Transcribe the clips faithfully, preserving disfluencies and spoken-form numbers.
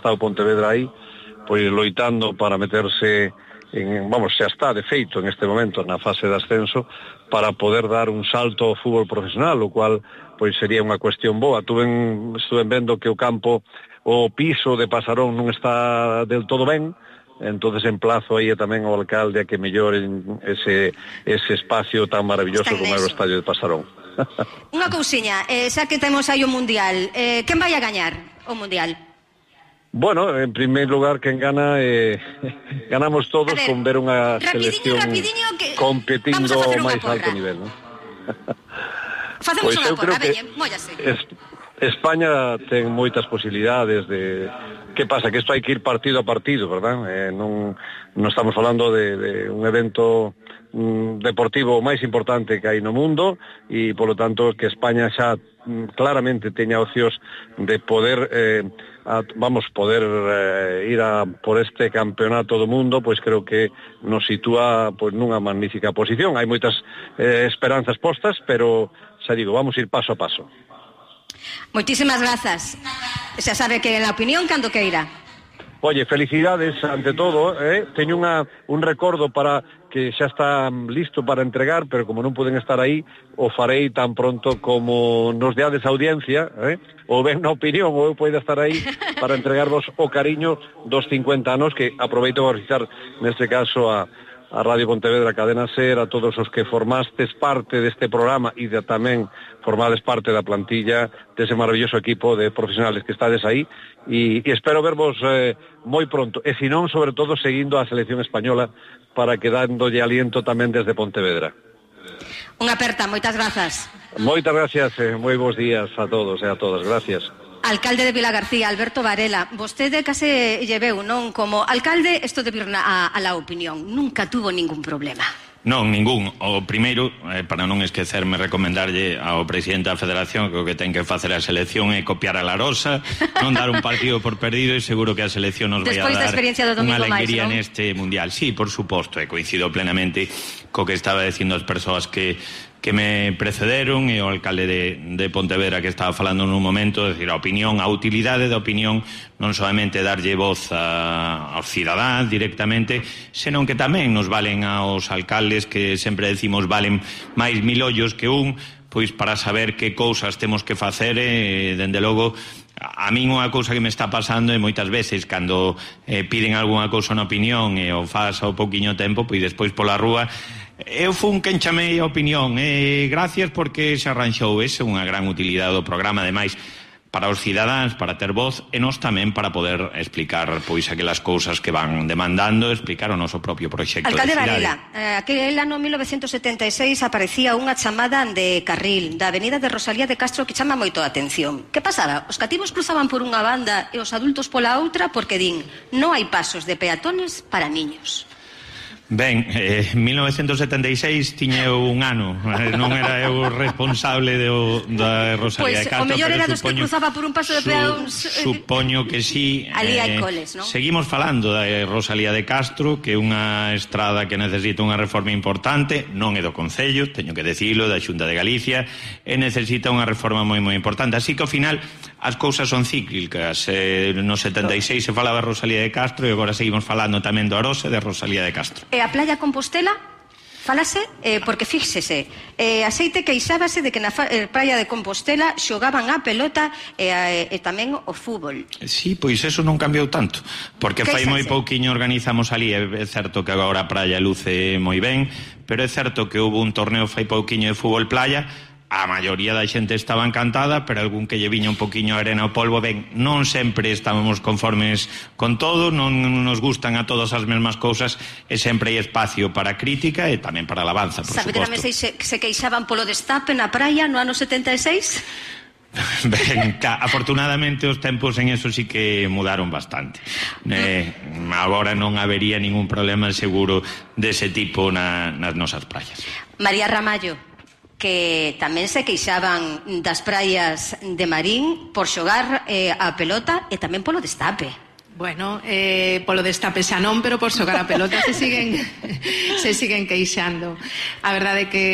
está o Pontevedra aí, pois loitando para meterse en, vamos, xa está de feito en este momento na fase de ascenso para poder dar un salto ao fútbol profesional, o cual pois sería unha cuestión boa. Tuven, estuven vendo que o campo, o piso de Pasarón non está del todo ben, entonces emplazo aí tamén ao alcalde a que melloren ese, ese espacio tan maravilloso como é o estadio de Pasarón. Unha cousiña, eh, xa que temos aí o Mundial, eh, quen vai a gañar o Mundial? Bueno, en primer lugar, quen gana, eh, ganamos todos ver, con ver unha selección que... competindo ao máis alto nivel, ¿no? Facemos pues unha porra, veñe, móllase. Es, España ten moitas posibilidades de... Que pasa? Que isto hai que ir partido a partido, verdad? Eh, non, non estamos falando de, de un evento mm, deportivo máis importante que hai no mundo e, polo tanto, que España xa mm, claramente teña ocios de poder... Eh, A, vamos poder eh, ir a por este campeonato do mundo, pois creo que nos sitúa pois nunha magnífica posición. Hai moitas eh, esperanzas postas, pero xa digo, vamos ir paso a paso. Moitísimas grazas. Xa sabe que a opinión cando queira. Oye, felicidades ante todo, eh? Teño unha, un recordo para que xa está listo para entregar, pero como non poden estar aí, o farei tan pronto como nos deades audiencia, eh? ou ben na opinión, ou eu poida estar aí para entregarvos o cariño dos cincuenta anos, que aproveito a felicitar neste caso a, a Radio Pontevedra, a Cadena Ser, a todos os que formastes parte deste programa e de, tamén formades parte da plantilla dese maravilloso equipo de profesionales que estades aí, e, e espero vervos eh, moi pronto, e se non, sobre todo, seguindo a selección española para que dándolle aliento tamén desde Pontevedra. Unha aperta, moitas grazas. Moitas gracias, eh, moi bons días a todos e a todas, gracias. Alcalde de Vilagarcía, Alberto Varela, vostede case lleveu, non? Como alcalde, isto de vir a, a la opinión, nunca tuvo ningún problema. Non, ningún. O primeiro, eh, para non esquecerme, recomendarlle ao presidente da Federación que o que ten que facer a selección é copiar a La Rosa, non dar un partido por perdido, e seguro que a selección nos vai a dar unha alegría neste Mundial. Sí, por suposto, e coincido plenamente co que estaba dicindo as persoas que que me precederon e o alcalde de, de Pontevedra que estaba falando nun momento, é dicir, a opinión, a utilidade da opinión, non solamente darlle voz a, aos cidadáns directamente, senón que tamén nos valen aos alcaldes, que sempre decimos valen máis mil ollos que un, pois para saber que cousas temos que facer e, dende logo, a min unha cousa que me está pasando é moitas veces cando eh, piden algunha cousa na opinión e o faz ao pouquiño tempo, pois despois pola rúa eu fun quen chamei a opinión e gracias porque se arranxou. Esa é unha gran utilidade do programa, ademais para os cidadáns, para ter voz e nós tamén para poder explicar pois aquelas cousas que van demandando, explicar o noso propio proxecto de cidade. Alcalde Varela, eh, aquel ano mil novecentos setenta e seis aparecía unha chamada de carril da avenida de Rosalía de Castro que chama moito a atención. Que pasaba? Os cativos cruzaban por unha banda e os adultos pola outra porque din non hai pasos de peatones para niños. Ben, eh, mil novecentos setenta e seis tiña eu un ano, non era eu responsable do, da Rosalía pues, de Castro. O mellor era dos que cruzaba por un paso de peóns. Su, supoño que sí. Ali hai coles, non? Seguimos falando da Rosalía de Castro, que é unha estrada que necesita unha reforma importante, non é do Concello, teño que decirlo, da Xunta de Galicia, e necesita unha reforma moi moi importante. Así que ao final as cousas son cíclicas. Eh, no setenta e seis se falaba de Rosalía de Castro e agora seguimos falando tamén do Arosa de Rosalía de Castro. E a Playa Compostela, falase, eh, porque fíxese, eh, a xeite queixábase de que na eh, Praia de Compostela xogaban a pelota e, a, e tamén o fútbol. Sí, pois eso non cambiou tanto, porque fai moi pouquiño organizamos ali, é certo que agora a praia luce moi ben, pero é certo que houve un torneo fai pouquiño de fútbol playa. A maioría da xente estaba encantada, pero algún que lle viña un poquinho a arena ao polvo, ben, non sempre estábamos conformes con todo, non nos gustan a todas as mesmas cousas, e sempre hai espacio para crítica e tamén para alabanza, por suposto. Sabe tamén se, se queixaban polo destape na praia no ano setenta e seis? Ben, afortunadamente os tempos en eso sí que mudaron bastante. Eh, agora non habería ningún problema seguro dese tipo na, nas nosas praias. María Ramallo, que tamén se queixaban das praias de Marín por xogar eh, a pelota e tamén polo destape. Bueno, eh, polo destape xa non, pero por xogar a pelota se siguen se siguen queixando. A verdade é que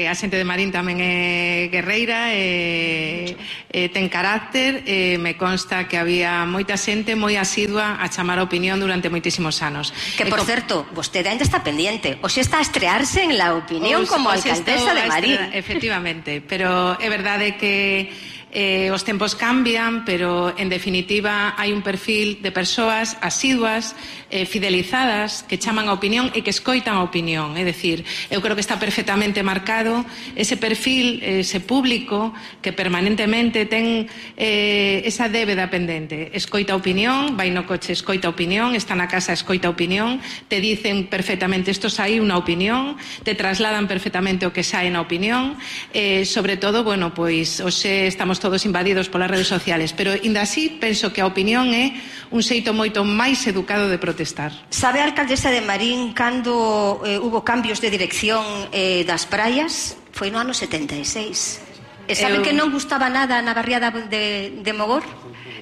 a xente de Marín tamén é guerreira, e, e ten carácter, e me consta que había moita xente moi asidua a chamar a opinión durante moitísimos anos. Que, por e, certo, vostede ainda está pendiente, o xe está a estrearse en La Opinión os, como os alcaldesa de Marín. Efectivamente, pero é verdade que Eh, os tempos cambian, pero en definitiva hai un perfil de persoas asiduas, eh, fidelizadas, que chaman a opinión e que escoitan a opinión. É dicir, eu creo que está perfectamente marcado ese perfil, ese público que permanentemente ten eh, esa débeda pendente. Escoita a opinión, vai no coche, escoita a opinión, está na casa, escoita a opinión, te dicen perfectamente isto sai unha opinión, te trasladan perfectamente o que sai na opinión, eh, sobre todo, bueno, pois hoxe estamos todos invadidos polas redes sociales, pero ainda así penso que a opinión é un xeito moito máis educado de protestar. Sabe a alcaldesa de Marín cando eh, hubo cambios de dirección eh, das praias? Foi no ano setenta e seis. E sabe Eu... que non gustaba nada na barriada de, de Mogor?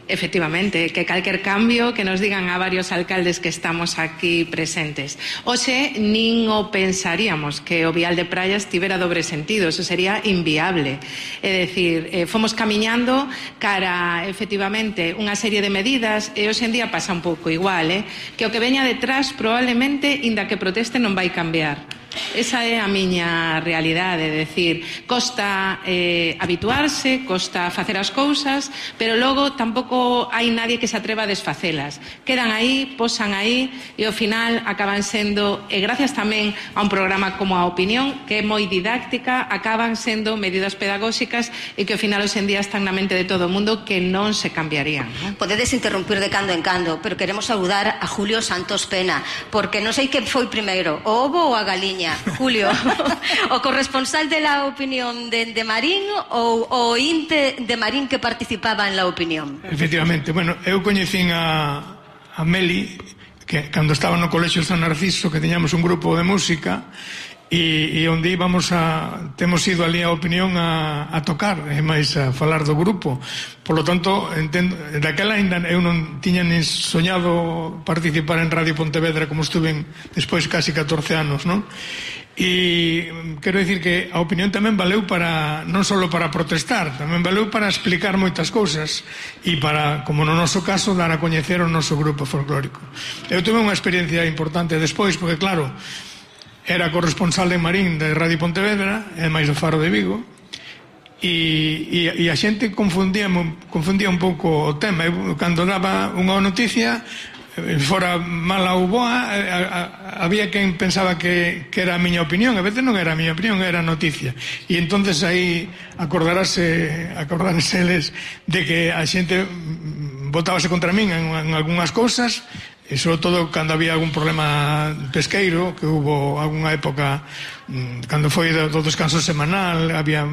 Efectivamente, que calquer cambio que nos digan a varios alcaldes que estamos aquí presentes. Oxe, nin o pensaríamos que o vial de praias tivera dobre sentido, eso sería inviable. É dicir, eh, fomos camiñando cara, efectivamente, unha serie de medidas, e hoxe en día pasa un pouco igual, eh? que o que veña detrás probablemente, inda que proteste, non vai cambiar. Esa é a miña realidade, é dicir, costa eh, habituarse, costa facer as cousas, pero logo tampouco hai nadie que se atreva a desfacelas. Quedan aí, posan aí, e ao final acaban sendo, e gracias tamén a un programa como a Opinión, que é moi didáctica, acaban sendo medidas pedagóxicas e que ao final hoxe en día están na mente de todo o mundo, que non se cambiarían, non? Podedes interrumpir de cando en cando, pero queremos saudar a Julio Santos Pena, porque non sei que foi primeiro, o ovo ou a galiña. Julio, o corresponsal de La Opinión de, de Marín ou o inte de Marín que participaba en La Opinión? Efectivamente, bueno, eu coñecín a, a Meli que cando estaba no Colexio San Narciso, que teñamos un grupo de música, e, e onde íbamos a temos ido ali a Opinión a, a tocar e máis a falar do grupo. Por lo tanto, entendo, daquela ainda eu non tiña nin soñado participar en Radio Pontevedra, como estuve despois casi catorce anos, non? E quero dicir que a opinión tamén valeu para non só para protestar, tamén valeu para explicar moitas cousas e para, como no noso caso, dar a coñecer o noso grupo folclórico. Eu tuve unha experiencia importante despois, porque claro, era corresponsal de Marín de Radio Pontevedra e máis do Faro de Vigo, e, e, e a xente confundía, confundía un pouco o tema. Eu, cando daba unha noticia, fora mala ou boa, había quen pensaba que, que era a miña opinión. A veces non era a miña opinión, era a noticia. E entonces aí acordarase acordarase eles de que a xente botábase contra min en, en algunhas cousas, e sobre todo cando había algún problema pesqueiro, que hubo algunha época cando foi do, do descanso semanal, había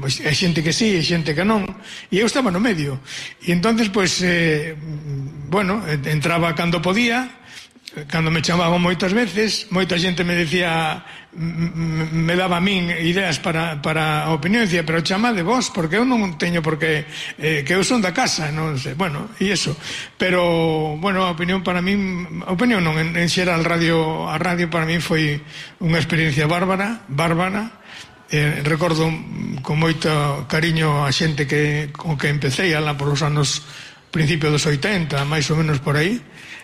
é xente que sí, é xente que non, e eu estaba no medio, e entonces pois eh, bueno, entraba cando podía, cando me chamaban moitas veces, moita xente me decía, me daba a min ideas para, para a opinión, decía, pero chamade vos, porque eu non teño porque eh, que eu son da casa, non sei, bueno, e iso, pero bueno, a opinión para min, a opinión non, en, en xeral radio, a radio para min foi unha experiencia bárbara, bárbara. Eh, recordo con moito cariño a xente que con que empecé alá por os anos principios dos oitenta, máis ou menos por aí.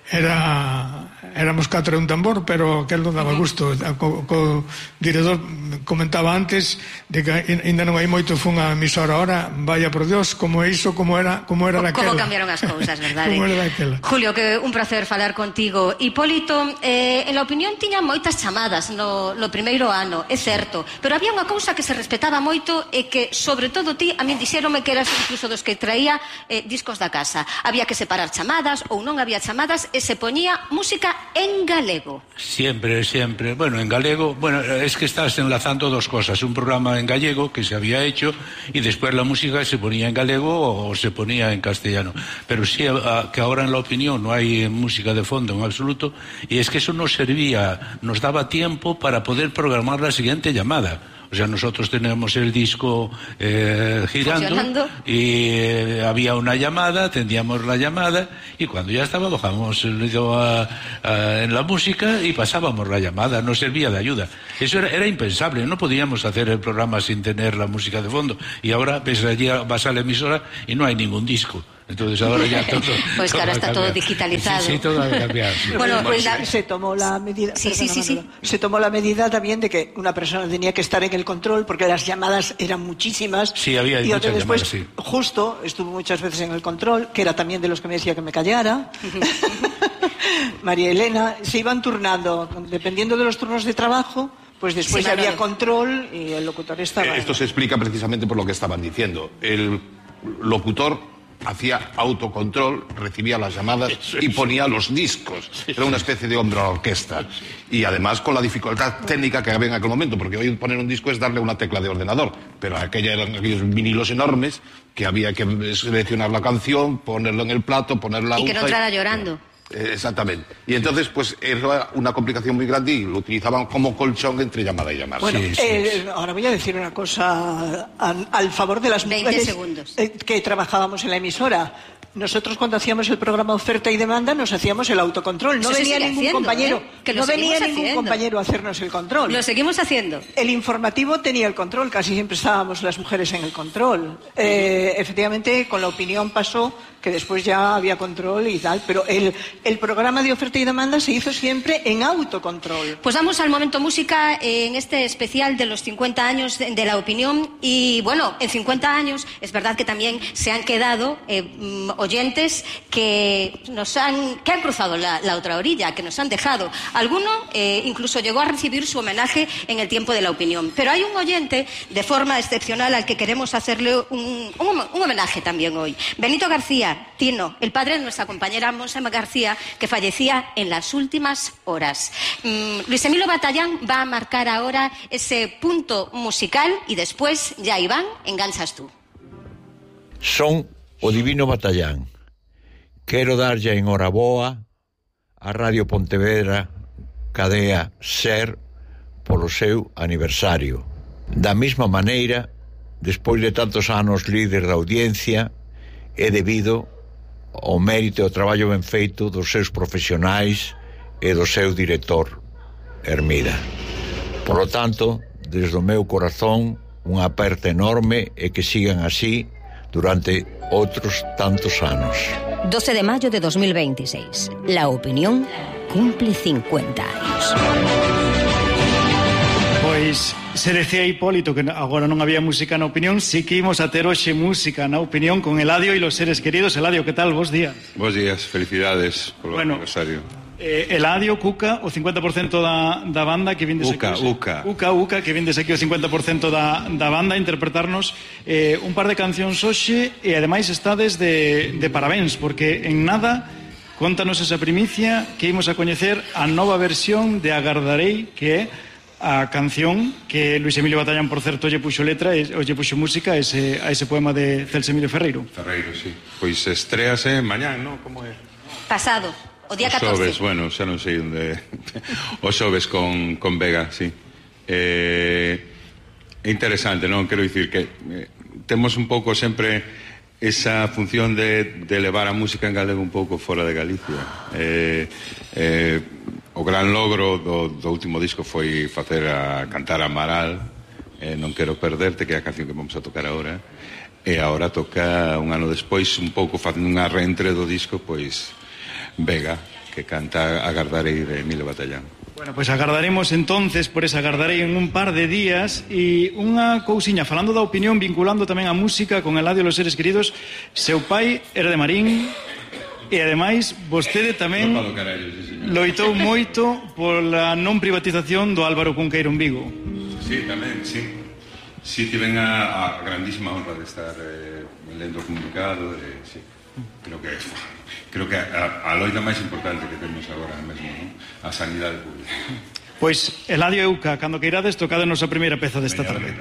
Era éramos catro e un tambor, pero aquel non daba gusto. Co, co director comentaba antes de que ainda non hai moito, fun a emisora ahora, vaya por Dios, como é iso, como era, como era daquela. Como cambiaron as cousas, verdade? Como era daquela. Julio, que un placer falar contigo. Hipólito, eh, en La Opinión tiña moitas chamadas no, no primeiro ano, é certo, pero había unha cousa que se respetaba moito e que, sobre todo ti, a min dixéronme que eras incluso dos que traía eh, discos da casa. Había que separar chamadas ou non había chamadas e se poñía música en galego. Siempre, siempre. Bueno, en galego, bueno, es que estás enlazando dos cosas. Un programa en gallego que se había hecho y después la música se ponía en galego o se ponía en castellano. Pero sí, a, que ahora en La Opinión no hay música de fondo en absoluto, y es que eso nos servía, nos daba tiempo para poder programar la siguiente llamada. O sea, nosotros teníamos el disco eh, girando y eh, había una llamada, atendíamos la llamada y cuando ya estaba bajábamos el dedo a, a, en la música y pasábamos la llamada, no servía de ayuda. Eso era, era impensable, no podíamos hacer el programa sin tener la música de fondo. Y ahora ves allí, vas a la emisora y no hay ningún disco. Entonces ahora ya todo... Pues todo ahora está todo digitalizado. Sí, sí, todo ha cambiado. Sí. Bueno, pues la... se tomó la medida... Sí, sí, sí, sí. Se tomó la medida también de que una persona tenía que estar en el control porque las llamadas eran muchísimas. Sí, había y muchas después, llamadas, sí. Justo, estuvo muchas veces en el control, que era también de los que me decía que me callara. María Elena, se iban turnando, dependiendo de los turnos de trabajo, pues después sí, había control y el locutor estaba... Esto se explica precisamente por lo que estaban diciendo. El locutor hacía autocontrol, recibía las llamadas y ponía los discos. Era una especie de hombre a la orquesta. Y además con la dificultad técnica que había en aquel momento, porque hoy poner un disco es darle una tecla de ordenador, pero aquella eran aquellos vinilos enormes que había que seleccionar la canción, ponerlo en el plato, poner la aguja... Y que no entrara llorando. Eh, exactamente. Y entonces, pues, era una complicación muy grande y lo utilizaban como colchón entre llamada y llamada. Bueno, sí, eh, sí, sí. Ahora voy a decir una cosa al, al favor de las mujeres eh, que trabajábamos en la emisora. Nosotros cuando hacíamos el programa Oferta y Demanda nos hacíamos el autocontrol. No Eso venía ningún haciendo, compañero, ¿eh? que no venía ningún haciendo. compañero a hacernos el control. Lo seguimos haciendo. El informativo tenía el control, casi siempre estábamos las mujeres en el control. Eh, efectivamente, con la opinión pasó que después ya había control y tal, pero el, el programa de Oferta y Demanda se hizo siempre en autocontrol. Pues vamos al momento música en este especial de los cincuenta años de, de la opinión y bueno, en cincuenta años es verdad que también se han quedado eh, oyentes que nos han, que han cruzado la, la otra orilla, que nos han dejado. Alguno eh, incluso llegó a recibir su homenaje en el tiempo de la opinión. Pero hay un oyente de forma excepcional al que queremos hacerle un, un, un homenaje también hoy. Benito García, Tino, el padre de nuestra compañera Monse García, que fallecía en las últimas horas. Mm, Luis Emilio Batallán va a marcar ahora ese punto musical y después, ya Iván, enganchas tú. Son o Divino Batallán. Quero darlle enhoraboa a Radio Pontevedra Cadea Ser polo seu aniversario. Da mesma maneira, despois de tantos anos líder da audiencia, é debido ao mérito e ao traballo ben feito dos seus profesionais e do seu director, Hermida. Por lo tanto, desde o meu corazón, unha aperta enorme e que sigan así durante outros tantos anos. doce de mayo de dos mil veintiséis. La opinión cumple cincuenta años. Pois, se decía Hipólito que agora non había música na opinión, si que imos a ter hoxe música na opinión con Eladio e los seres queridos. Eladio, que tal? Bos días. Bos días, felicidades polo bueno, aniversario. Eh, Eladio, Cuca, o cincuenta por cento da, da banda que vindes Uca, aquí. Uca. Uca, Uca, que vindes aquí o cincuenta por cento da, da banda a interpretarnos eh, un par de cancións hoxe e ademais estades de, de parabéns, porque en nada contanos esa primicia que imos a coñecer a nova versión de Agardarei, que é a canción que Luis Emilio Batallán, por certo, lle puxo letra e lle puxo música a ese, a ese poema de Celso Emilio Ferreiro. Ferreiro, sí. Pois estréase mañán, non? Como é? Pasado, o día catorce. O xoves, bueno, xa non sei onde... o xoves con, con Vega, sí. É eh, interesante, non? Quero dicir que eh, temos un pouco sempre esa función de, de levar a música en galego un pouco fora de Galicia. Eh, eh, o gran logro do, do último disco foi facer a cantar a Amaral, eh, Non quero perderte, que é a canción que vamos a tocar agora, e agora toca un ano despois, un pouco facendo unha reentre do disco, pois Vega, que canta Agardarei de Emilio Batallán. Bueno, pois pues agardaremos entonces por esa Agardarei en un par de días. E unha cousiña, falando da opinión, vinculando tamén a música con Eladio e los seres queridos, seu pai era de Marín e ademais vostede tamén no carallo, sí, loitou moito pola non privatización do Álvaro Cunqueiro en Vigo. Sí, tamén, sí. Sí, tiven a, a grandísima honra de estar eh, lendo o comunicado, eh, sí. Creo que creo que a, a loita máis importante que temos agora mesmo, ¿no? A sanidade pública. Pois, Eladio e Uca, cando queirades, tocádenos a primeira peza desta tarde.